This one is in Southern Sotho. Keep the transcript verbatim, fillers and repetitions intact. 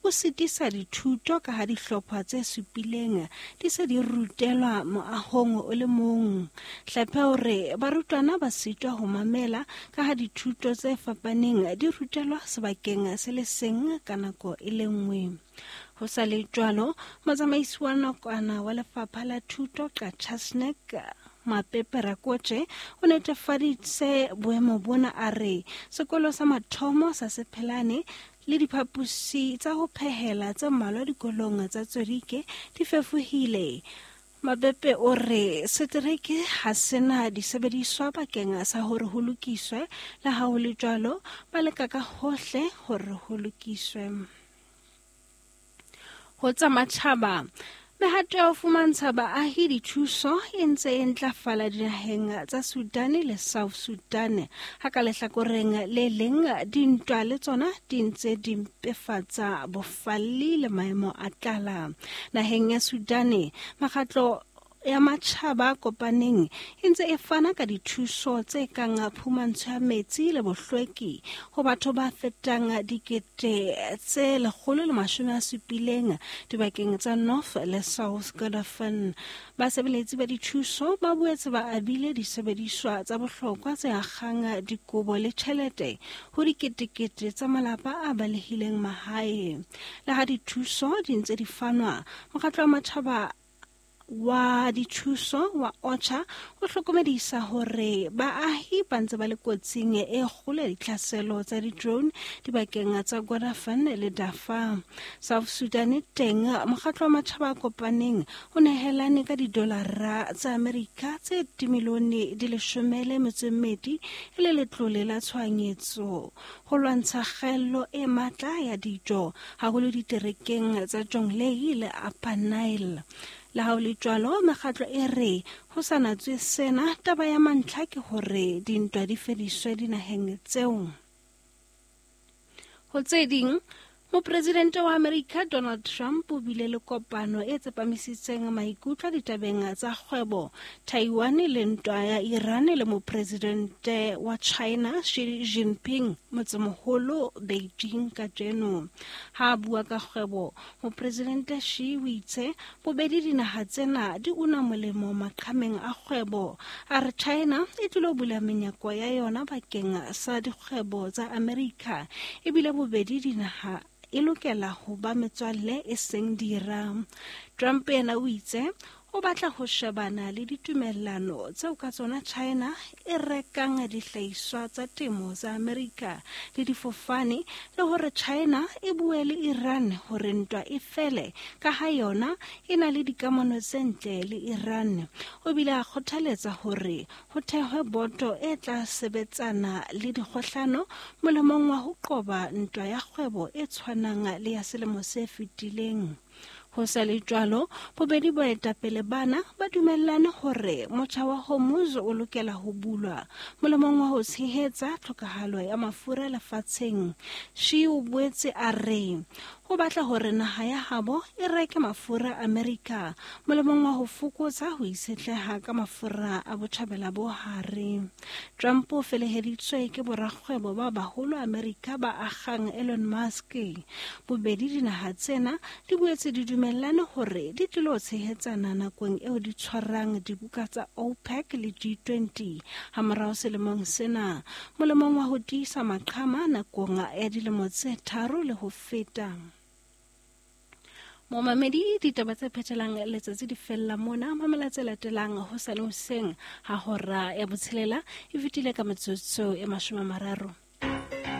bo sitisa dithuto ka ha dihlopha tse supileng di se di rutelwa moahong o le mong. Hlophe o re barutwana ba sitwa ho mamela ka ha dithuto tse fapaneng di rutelwa sebakeng se le seng ka nako e le nngwe. Ho sa le jwalo, motsamaisi wa nakwana wa lefapha la thuto Qacha's Nek Mapepe Rakoche o netefaditse boemo bona, a re sekolo sa mathomo sa Sephelane le diphaposi tsa ho phehela tse mmalwa dikolong tsa Tswerike di fefohile. Mapepe o re setereke ha sena disebediswa bakeng sa hore ho lokiswe, le ha ho le jwalo ba leka ka hohle hore ho lokiswe. Ho tsa matjhaba, mehato ya ho fumantsha baahi dithuso e ntse e ntlafala dinaheng tsa Sudan le South Sudan. Ha ka lehlakoreng le leng dintwa le tsona di ntse di mpefatsa bofalli le maemo a tlala. Naheng ya Sudan, mekgatlo ya matjhaba a kopaneng e ntse e fana ka dithuso tse kang phumantsho ya metsi le bohlweki ho batho ba fetang dikete tse lekgolo le mashome a supileng dibakeng tsa North le South Kordofan. Basebeletsi ba dithuso ba boetse ba abile disebediswa tsa bohlokwa tse akgang dikobo le tjhelete ho diketekete tsa malapa a balehileng mahae. Le ha dithuso di ntse di fanwa, mokgatlo wa matjhaba wa dithuso wa OCHA o hlokomedisa hore baahi ba ntse ba le kotsing e kgolo ya ditlhaselo tsa di-drone dibakeng tsa Kordofan le Darfur. South Sudan teng, mokgatlo wa matjhaba a kopaneng o nehelane ka didolara tsa Amerika tse dimilione di leshome le metso e mmedi e le letlole la tshohanyetso ho lwantsha kgaello e matla ya dijo, haholo diterekeng tsa Jonglei le Upper Nile. Le ha ho le jwalo, mekgatlo e re ho sa natswe sena, taba ya mantlha ke hore dintwa di fediswe dinaheng tseo. Ho tse ding, Mopresidente wa Amerika Donald Trump o bile le kopano e tsepamisitseng maikutlo ditabeng tsa kgwebo, Taiwan le ntwa ya Iran le mopresidente wa China Xi Jinping motsemoholo Beijing kajeno. Ha a bua ka kgwebo, mopresidente Xi o itse bobedi dinaha tsena di una molemo maqhameng a kgwebo. A re China e tlilo bula menyako ya yona bakeng sa dikgwebo tsa Amerika, ebile bobedi dinaha e lokela ho ba metswalle e seng dira. Trump yena o itse o batla ho shebana le ditumellano tseo ka tsona China e rekang dihlahiswa tsa temo tsa Amerika le difofane, le hore China e bue le Iran hore ntwa e fele ka ha yona e na le dikamano tse ntle le Iran. O bile a kgothaletsa hore ho thehwe boto e tla sebetsana le dikgohlano molemong wa ho qoba ntwa ya kgwebo e tshwanang le ya selemo se fetileng. Ho sa le jwalo, bobedi boetapele bana ba dumellane hore motjha wa Hormuz o lokela ho bulwa molemong wa ho tshehetsa tlhokahalo ya mafura lefatsheng. Xi o boetse a re ho batla hore naha ya habo e reke mafura Amerika molemong wa ho fokotsa ho itshetleha ka mafura a botjhabela bo hare. Trump o feleheditswe ke borakgwebo ba baholo Amerika ba akgang Elon Musk. Bobedi dinaha tsena di boetse di dumellane hore di tlilo tshehetsana nakong eo di tshwarang dibuka tsa OPEC le G twenty hamorao selemong sena, molemong wa ho tiisa maqhama nakong ya dilemo tse tharo le ho feta. Momamedi, ditaba tse phethelang letsatsi di fella mona. Mamela tse latelang hosane hoseng ha hora ya botshelela e fetile ka metsotso e mashome a mararo.